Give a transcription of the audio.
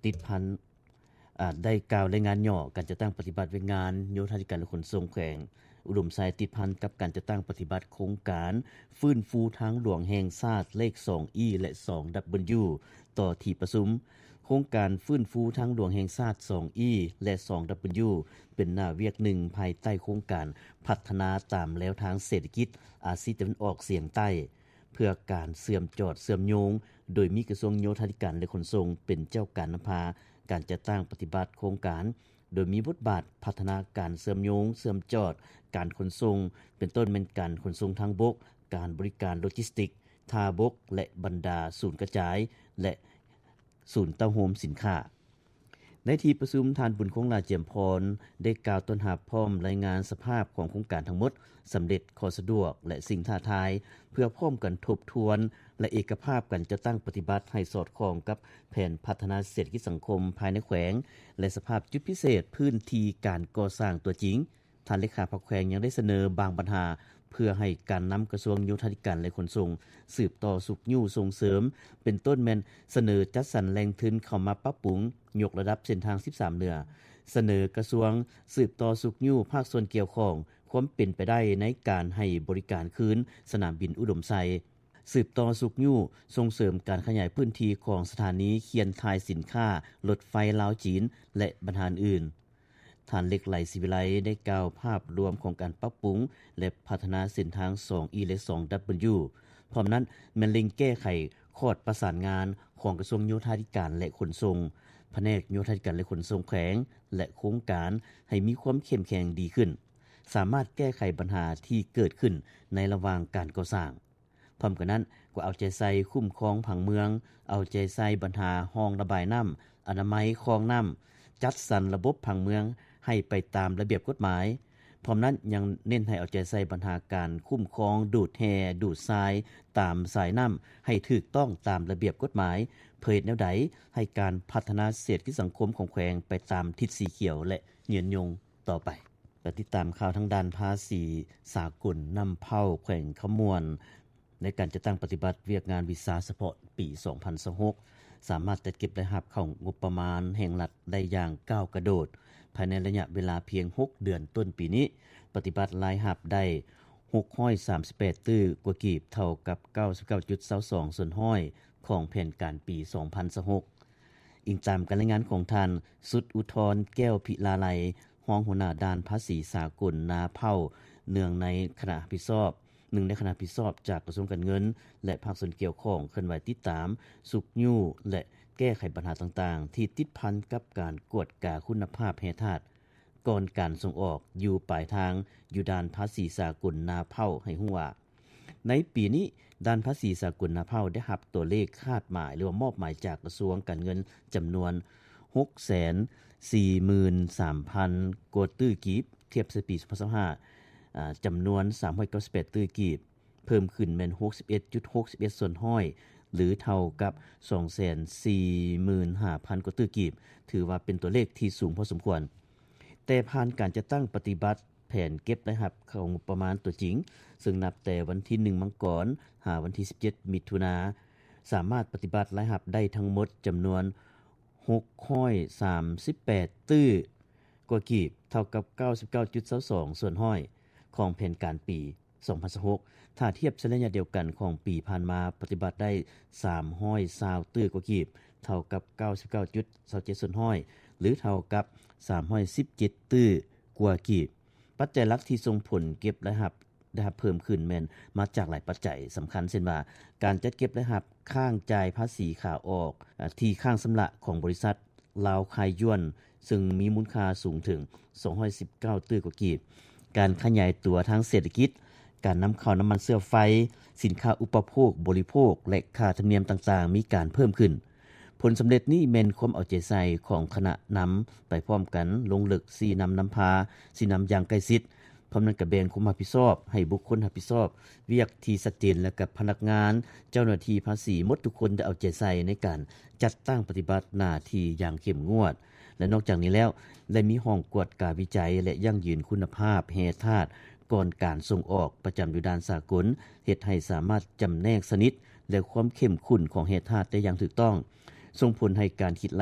ຕິດພັນ ອາ ໄດ້ກ່າວລາຍງານຫຍໍ້ການຈັດຕັ້ງປະຕິບັດວຽກງານໂຍທາທິການ ແລະ ຂົນສົ່ງແຂວງອຸດົມໄຊ ຕິດພັນກັບການຈັດຕັ້ງປະຕິບັດໂຄງການຟື້ນຟູທາງຫຼວງແຫ່ງຊາດເລກ ສອງອີ ແລະ ສອງດັບເບິນຢູ ຕໍ່ທີ່ປະຊຸມ. ໂຄງການຟື້ນຟູທາງຫຼວງແຫ່ງຊາດ ສອງອີ ແລະ ສອງດັບເບິນຢູ ເປັນໜ້າວຽກໜຶ່ງພາຍໃຕ້ໂຄງການພັດທະນາຕາມແນວທາງເສດຖະກິດອາຊີຕາເວັນອອກສຽງໃຕ້ ເພື່ອການເຊື່ອມຈອດເຊື່ອມໂຍງ, ໂດຍມີກະຊວງໂຍທາທິການ ແລະ ຂົນສົ່ງເປັນເຈົ້າການນຳພາການຈັດຕັ້ງປະຕິບັດໂຄງການ, ໂດຍມີບົດບາດພັດທະນາການເຊື່ອມໂຍງເຊື່ອມຈອດການຂົນສົ່ງ ເປັນຕົ້ນແມ່ນການຂົນສົ່ງທາງບົກ, ການບໍລິການໂລຈິສຕິກທ່າບົກ ແລະ ບັນດາສູນກະຈາຍ ແລະ ສູນເຕົ້າໂຮມສິນຄ້າ. ໃນທີ່ປະຊຸມ, ທ່ານ ບຸນຄົງ ຫຼ້າຈຽມພອນ ໄດ້ກ່າວຕ້ອນຮັບພ້ອມລາຍງານສະພາບຂອງໂຄງການທັງໝົດ, ສຳເລັດ, ຂໍ້ສະດວກ ແລະ ສິ່ງທ້າທາຍ ເພື່ອພ້ອມກັນທົບທວນ ແລະ ເອກະພາບການຈັດຕັ້ງປະຕິບັດໃຫ້ສອດຄ່ອງກັບແຜນພັດທະນາເສດຖະກິດສັງຄົມພາຍໃນແຂວງ ແລະ ສະພາບຈຸດພິເສດພື້ນທີ່ການກໍ່ສ້າງຕົວຈິງ. ທ່ານເລຂາພັກແຂວງຍັງໄດ້ສະເໜີບາງບັນຫາ ເພື່ອໃຫ້ການນຳກະຊວງໂຍທາທິການ ແລະ ຂົນສົ່ງ ສືບຕໍ່ຊຸກຍູ້ສົ່ງເສີມ ເປັນຕົ້ນແມ່ນສະເໜີຈັດສັນແຫຼ່ງທຶນເຂົ້າມາປັບປຸງ, ຍົກລະດັບເສັ້ນທາງສິບສາມເໜືອ, ສະເໜີກະຊວງສືບຕໍ່ຊຸກຍູ້ພາກສ່ວນກ່ຽວຂ້ອງຄວາມເປັນໄປໄດ້ໃນການໃຫ້ບໍລິການຄືນສະໜາມບິນອຸດົມໄຊ, ສືບຕໍ່ຊຸກຍູ້ສົ່ງເສີມການຂະຫຍາຍພື້ນທີ່ຂອງສະຖານີຂຽນຖ່າຍສິນຄ້າລົດໄຟລາວ-ຈີນ ແລະ ບັນຫາອື່ນ. ທ່ານ ເລັກໄຫຼ ສີວິໄລ ໄດ້ກ່າວພາບລວມຂອງການປັບປຸງ ແລະ ພັດທະນາເສັ້ນທາງ ສອງອີ ແລະ ສອງດັບເບິນຢູ ພ້ອມນັ້ນແມ່ນເລັ່ງແກ້ໄຂຂອດປະສານງານຂອງກະຊວງໂຍທາທິການ ແລະ ຂົນສົ່ງ, ພະແນກໂຍທາທິການ ແລະ ຂົນສົ່ງແຂວງ ແລະ ໂຄງການ ໃຫ້ມີຄວາມເຂັ້ມແຂງດີຂຶ້ນ, ສາມາດແກ້ໄຂບັນຫາທີ່ເກີດຂຶ້ນໃນລະຫວ່າງການກໍ່ສ້າງ. ພ້ອມກັນນັ້ນກໍເອົາໃຈໃສ່ຄຸ້ມຄອງຜັງເມືອງ, ເອົາໃຈໃສ່ບັນຫາຮ່ອງລະບາຍນ້ຳ, ອະນາໄມຄອງນ້ຳ, ຈັດສັນລະບົບຜັງເມືອງໃຫ້ໄປຕາມລະບຽບກົດໝາຍ. ພ້ອມນັ້ນຍັງເນັ້ນໃຫ້ເອົາໃຈໃສ່ບັນຫາການຄຸ້ມຄອງດູດແຮ່, ດູດຊາຍຕາມສາຍນ້ຳໃຫ້ຖືກຕ້ອງຕາມລະບຽບກົດໝາຍ, ເພື່ອເຮັດແນວໃດໃຫ້ການພັດທະນາເສດຖະກິດສັງຄົມຂອງແຂວງໄປຕາມທິດສີຂຽວ ແລະ ຍືນຍົງຕໍ່ໄປ. ແລະ ຕິດຕາມຂ່າວທາງດ້ານພາສີສາກົນນຳເຜົ່າແຂວງຄຳມ່ວນ ໃນການຈັດຕັ້ງປະຕິບັດວຽກງານວິຊາສະເພາະປີສອງພັນຊາວຫົກ ສາມາດຈັດເກັບລາຍຮັບເຂົ້າງົບປະມານແຫ່ງລັດໄດ້ຢ່າງກ້າວກະໂດດ ພາຍໃນໄລຍະເວລາພຽງຫົກເດືອນຕົ້ນປີນີ້ ປະຕິບັດລາຍຮັບໄດ້ຫົກຮ້ອຍສາມສິບແປດຕື້ກວ່າກີບ ເທົ່າກັບເກົ້າສິບເກົ້າຈຸດຊາວສອງສ່ວນຮ້ອຍຂອງແຜນການປີສອງພັນຊາວຫົກ. ອີງຕາມການລາຍງານຂອງທ່ານ ສຸດອຸທອນ ແກ້ວພິລາໄລ ຮອງຫົວໜ້າດ້ານພາສີສາກົນນາເຜົ່າ ເນື່ອງໃນຄະນະຮັບຜິດຊອບ ໜຶ່ງໃນຄະນະຮັບຜິດຊອບຈາກກະຊວງການເງິນ ແລະ ພາກສ່ວນກ່ຽວຂ້ອງ ເຄື່ອນໄຫວຕິດຕາມ, ຊຸກຍູ້ ແລະ ແກ້ໄຂບັນຫາຕ່າງໆ ທີ່ຕິດພັນກັບການກວດກາຄຸນນະພາບແຮ່ທາດ ກ່ອນການສົ່ງອອກຢູ່ປາຍທາງ ຢູ່ດ່ານພາສີສາກົນນາເຜົ່າ ໃຫ້ຮູ້ວ່າ ໃນປີນີ້ ດ່ານພາສີສາກົນນາເຜົ່າໄດ້ຮັບຕົວເລກຄາດໝາຍ ຫຼືວ່າມອບໝາຍຈາກກະຊວງການເງິນ ຈຳນວນຫົກແສນສີ່ໝື່ນສາມພັນກວ່າຕື້ກີບ, ທຽບໃສ່ປີສອງພັນຊາວຫ້າ ອາ ຈຳນວນສາມຮ້ອຍເກົ້າສິບແປດຕື້ກີບ, ເພີ່ມຂຶ້ນແມ່ນຫົກສິບເອັດຈຸດຫົກສິບເອັດສ່ວນຮ້ອຍ ຫຼື ເທົ່າກັບສອງແສນສີ່ໝື່ນຫ້າພັນກວ່າຕື້ກີບ, ຖືວ່າເປັນຕົວເລກທີ່ສູງພໍສົມຄວນ. ແຕ່ຜ່ານການຈັດຕັ້ງປະຕິບັດແຜນເກັບລາຍຮັບເຂົ້າງົບປະມານຕົວຈິງ, ເຊິ່ງນັບແຕ່ວັນທີໜຶ່ງ ມັງກອນ ຫາວັນທີສິບເຈັດ ມິຖຸນາ, ສາມາດປະຕິບັດລາຍຮັບໄດ້ທັງໝົດຈຳນວນຫົກຮ້ອຍສາມສິບແປດຕື້ກວ່າກີບ, ເທົ່າກັບເກົ້າສິບເກົ້າຈຸດຊາວສອງສ່ວນຮ້ອຍຂອງແຜນການປີ ສອງພັນຊາວຫົກ ຖ້າທຽບໃສ່ໄລຍະດຽວກັນຂອງປີຜ່ານມາ ປະຕິບັດໄດ້ສາມຮ້ອຍຊາວຕື້ກວ່າກີບ, ເທົ່າກັບເກົ້າສິບເກົ້າຈຸດຊາວເຈັດສ່ວນຮ້ອຍ ຫຼື ເທົ່າກັບສາມຮ້ອຍສິບເຈັດຕື້ກວ່າກີບ. ປັດໄຈຫຼັກທີ່ສົ່ງຜົນເກັບລາຍຮັບ ໄດ້ຮັບເພີ່ມຂຶ້ນແມ່ນມາຈາກຫຼາຍປັດໄຈສຳຄັນ ເຊັ່ນວ່າ ການຈັດເກັບລາຍຮັບຄ້າງຈ່າຍພາສີຂາອອກ ອາ ທີ່ຄ້າງຊຳລະຂອງບໍລິສັດ ລາວຄາຍຢວນ ເຊິ່ງມີມູນຄ່າສູງເຖິງສອງຮ້ອຍສິບເກົ້າຕື້ກວ່າກີບ, ການຂະຫຍາຍຕົວທາງເສດຖະກິດ, ການນຳເຂົ້ານ້ຳມັນເຊື້ອໄຟ, ສິນຄ້າອຸປະໂພກບໍລິໂພກ ແລະ ຄ່າທຳນຽມຕ່າງໆ ມີການເພີ່ມຂຶ້ນ. ຜົນສຳເລັດນີ້ແມ່ນຄວາມເອົາໃຈໃສ່ຂອງຄະນະນຳໄປພ້ອມກັນ, ລົງເລິກຊີ້ນຳນຳພາ, ຊີ້ນຳຢ່າງໃກ້ຊິດ, ພ້ອມນັ້ນກໍແບ່ງຄວາມຮັບຜິດຊອບໃຫ້ບຸກຄົນຮັບຜິດຊອບວຽກທີ່ຊັດເຈນ ແລະ ກັບພະນັກງານ, ເຈົ້າໜ້າທີ່ພາສີໝົດທຸກຄົນໄດ້ເອົາໃຈໃສ່ໃນການຈັດຕັ້ງປະຕິບັດໜ້າທີ່ຢ່າງເຂັ້ມງວດ ແລະ ນອກຈາກນີ້ແລ້ວ ໄດ້ມີຫ້ອງກວດກາວິໄຈ ແລະ ຢັ້ງຢືນຄຸນນະພາບແຮ່ທາດກ່ອນການສົ່ງອອກ ປະຈຳຢູ່ດ່ານສາກົນ, ເຮັດໃຫ້ສາມາດຈຳແນກຊະນິດ ແລະ ຄວາມເຂັ້ມຂຸ້ນຂອງແຮ່ທາດໄດ້ຢ່າງຖືກຕ້ອງ, ສົ່ງຜົນໃຫ້ການຄິດ